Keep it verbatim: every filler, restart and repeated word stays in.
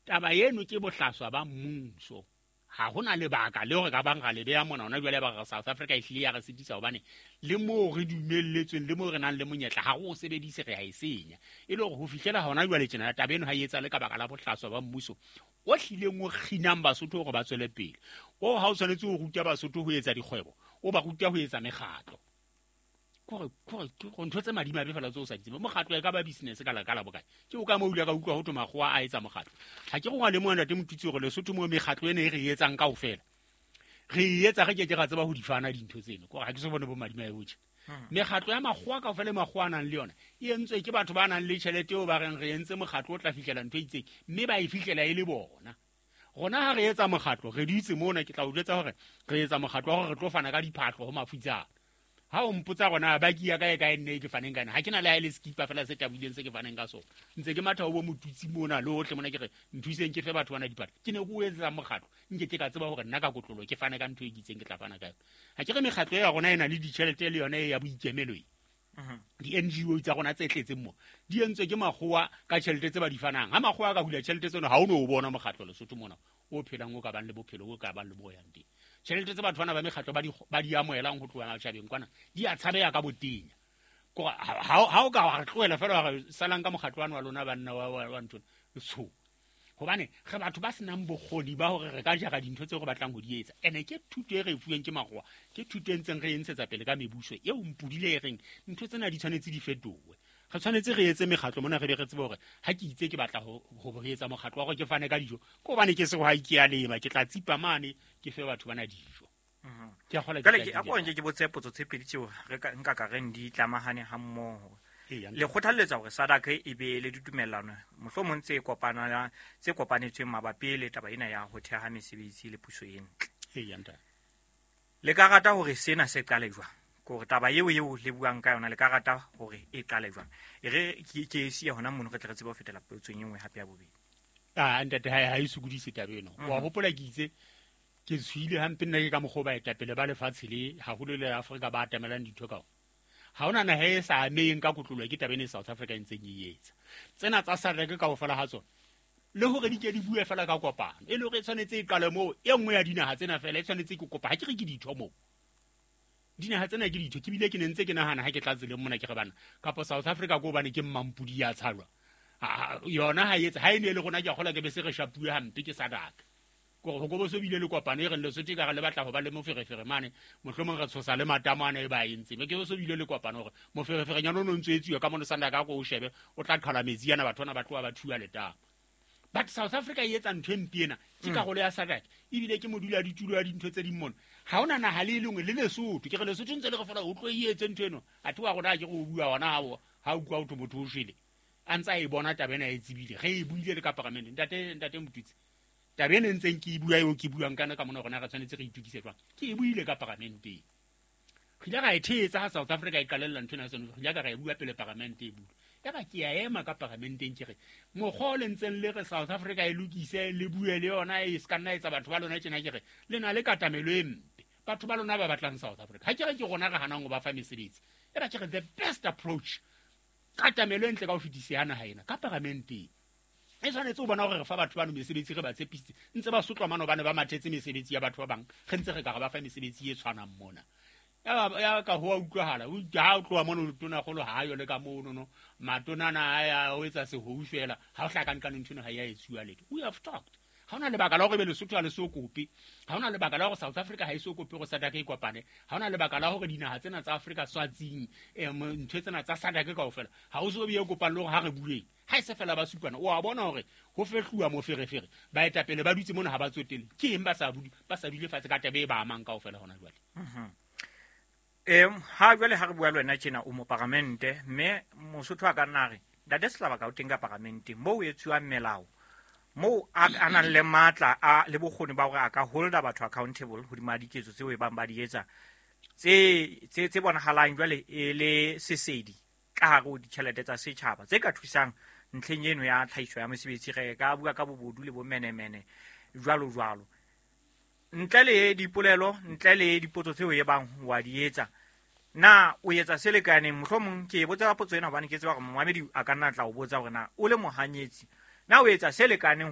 Taba eno ke bohlaswa ba mmuso. Ha hona lebaka le hore ka bang ra le beha mona hona jwale ba re South Africa e hlile ya re sitisa, hobane le moo re dumelletsweng le moo re nang le monyetla ha re o sebedise, re a e senya. E le hore ho fihlela hona jwale tjena taba eno ha e etsahale ka baka la bohlaswa ba mmuso o hlileng o kginang Basotho hore ba tswele pele. O ha o tshwanetse ho ruta Basotho ho etsa dikgwebo, o ba ruta ho etsa mekgatlo. Kore kore ke ntho tse madimabe fela tseo o sa di tsebe. Mokgatlo e ka ba business ka la ka la bokae? Ke o ka mo ile ka utlwa ho thwe makgowa a etsa mokgatlo. Ha ke re wa lemoha, ntate Motutsi, hore Lesotho moo mekgatlo ena e re e etsang kaofela, re e etsa re ke ke ra tseba ho di fana dintho tseno. Kore ha ke so bone bo madimabe bo tje. Mekgatlo ya makgowa kaofela e makgowa a nang le yona e entswe ke batho ba nang le tjhelete eo ba reng re entse mokgatlo o tla fihlela ntho e itseng, mme ba e fihlela e le bona. Rona ha re etsa mokgatlo re dutse mona, ke tla o jwetsa hore re etsa mokgatlo wa hore re tlo fana ka diphahlo ho mafutsana. Ha o mpotsa rona baki ya ka e kae nne ke faneng ka yona, ha ke na le ha e le skipa fela se tabohileng se ke faneng ka sona. Ntse ke matha ho bo Motutsi mona le hohle mona, ke re nthuseng ke fe batho bana diphahlo. Ke ne ke o etsetsa mokgatlo, nke ke ka tseba hore nna ka kotlolo ke fane ka ntho e ke itseng ke tla fana ka yona. Ha ke re mekgatlo ya rona e na le ditjhelete le yona e ya boikemelo e. Di-N G O tsa rona tse tletseng mo di entswe ke makgowa ka tjhelete tse ba di fanang. Ha makgowa a ka hula tjhelete tseno, ha o no o bona mokgatlo Lesotho mona o phelang o ka bang le bophelo o ka bang le bo yang teng. Tjhelete tse batho bana ba mekgatlo ba di, ba di amohelang ho tloha matjhabeng kwana di a tshabeha ka botenya. Kore ha, ha, ha o ka wa re tlohela fela wa re salang ka mokgatlo wane wa lona banna wa, wa, wa ntho tsho. Hobane re batho ba senang bokgoni ba hore re ka jara dintho tseo re batlang ho di etsa. Ene ke thuto e re e fuweng ke makgowa, ke thuto e ntseng re e ntshetsa pele ka mebuso eo mpodile e reng ntho tsena di tshwanetse di fetohe. Re tshwanetse re etse mekgatlo mona, re be re tsebe hore ha ke itse ke batla ho, ho re etsa mokgatlo wa hore ke fane ka dijo, ke hobane ke sehwai ke a lema, ke tla tsipa mane ke fe batho bana dijo. Ke a kgolwa ke Jwale tla ke, di a ko etsa. nke ke botse potso tse pedi tseo re ka, nka ka reng di tlamahane ha mmoho. Eya, Le kgothalletsa hore SADC e be le ditumellano mohlomong tse kopana, tse kopanetsweng mabapi le taba ena ya ho theha mesebetsi le puso e ntle. Eya, ntate. Le ka rata hore sena se qale jwang? Ke hore taba eo eo le buang ka yona le ka rata hore e qale jwang? E re ke, ke e siye hona mono re tle re tsebe ho fetela potsong e nngwe hape ya bobedi. Ah, ntate, ha, ha e sokodise taba eno. Mhm. Wa hopola ke itse ke tshohile hampe nna ke ka mokgwa o baetapele ba lefatshe le haholo le Afrika ba atamelang ditho ka ona. Ha hona naha e sa ameheng ka kotloloho ke taba ena e South Africa e ntseng e etsa. Tsena tsa SADC kaofela ha tsona, le hore di ke di bue fela ka kopano, e le hore e tshwanetse e qale moo, e nngwe ya dinaha tsena fela e tshwanetse ke kopa. Ha ke re ke ditho moo, dinaha tsena ke ditho. Ke bile ke ne ntse ke nahana ha ke tla tseleng mona ke re bana kapa South Africa ko hobane ke mmampudi ya tshalwa. Ha, yona ha e etse, ha e ne e le rona ke a kgolwa ke be se re shapuwe hampe ke SADC. Kore ho ko bo so bile le kopano e reng Lesotho e ka re le batla ho ba le moferefere mane, mohlomong re tshosa le matamo ana e ba entseng. Be ke bo so bile le kopano hore mofereferenyana o no ntso etsuwa ka mono SADC a ko o shebe, o tla qhala metsi ana, batho bana ba tloha ba thuwa letamo. But South Africa e etsa ntho e mpe ena, ke Mm. karolo ya SADC, ebile ke modula ditulo ya dintho tse ding mona. Ha hona naha le e lengwe le Lesotho, ke re Lesotho ntse le re fela o tlo e etse ntho eno. Athe wa rona ha ke re o bua hona ha o, ha o utlwa ho thwe motho o shwele. A ntse a e bona taba ena e tsebile. Re e buile le ka paramenteng. Ntate, ntate Motutsi, taba ena e ntseng ke e bua eo ke buang kana ka mona rona re tshwanetse re itokise jwang. Ke e buile ka paramenteng. Re ile ra e thetsa ha South Africa e qalella ntho ena ya seno. Re ile ka ra e bua pele paramente e bula. Yaba ke a ema ka paramenteng ke re, mokgwa o le ntseng le re South Africa e lokise, le bue le yona, e se ka nna etsa batho ba lona tjena, ke re le na le katamelo e mpe. Batho ba lona ba batlang South Africa. Ha ke re ke rona re hanang ho ba fa mesebetsi. Yaba ke re the best approach, katamelo e ntle ka ho fetisa ya naha ena ka paramenteng. E tshwanetse ho bona hore re fa batho bano mesebetsi, re ba tshepisitse. Ntse ba sotlwa mane hobane ba mathetse mesebetsi ya batho ba bang, re ntse re ka re ba fa mesebetsi e tshwanang mona. Ya ba, ya ka ho a utlwahala. O itse ha o tloha mono tonakgolo ha yo le ka mono no. Matona ana a ya o etsa sehou fela. Ha o hlaka nqane ntho eno ha ya etsuwa letho. We have talked. Ha hona lebaka la hore ebe Lesotho ha le so kope. Ha hona lebaka la hore South Africa ha e so kope hore SADC e kopane. Ha hona lebaka la hore dinaha tsena tsa Afrika Swatsing, eh, ntho tsena tsa SADC kaofela ha o so be e kopang le hore ha re bueng. Ha e se fela ba supana, o a bona hore ho fehluwa moferefere. Baetapele ba dutse mona ha ba tsotelle. Ke eng ba sa bule, ba sa dule fatshe ka taba e ba amang kaofela hona jwale? Mhm. Em, ha jwale ha re bua le wena tjena o moparamente, mme Mosotho a ka nna a re Ntate Setlabaka o teng ka paramenteng moo ho etsuwang melao, moo a, a nang le matla a le bokgoni ba hore a ka holda batho accountable hodima diketso tseo e bang ba di etsa tse, tse, tse bonahalang jwale e le sesedi ka hare ho ditjhelete tsa setjhaba tse ka thusang ntlheng eno ya tlhahiso ya mesebetsi. Re ka bua ka bobodu le bomenemene jwalo jwalo. Ntle le dipolelo, ntle le dipotso tseo e bang wa di etsa, na o etsa se lekaneng? Mohlomong ke e botsa ka potso ena hobane ke tseba hore momamedi a ka nna tla o botsa hore na o le mohanyetsi, na o etsa se lekaneng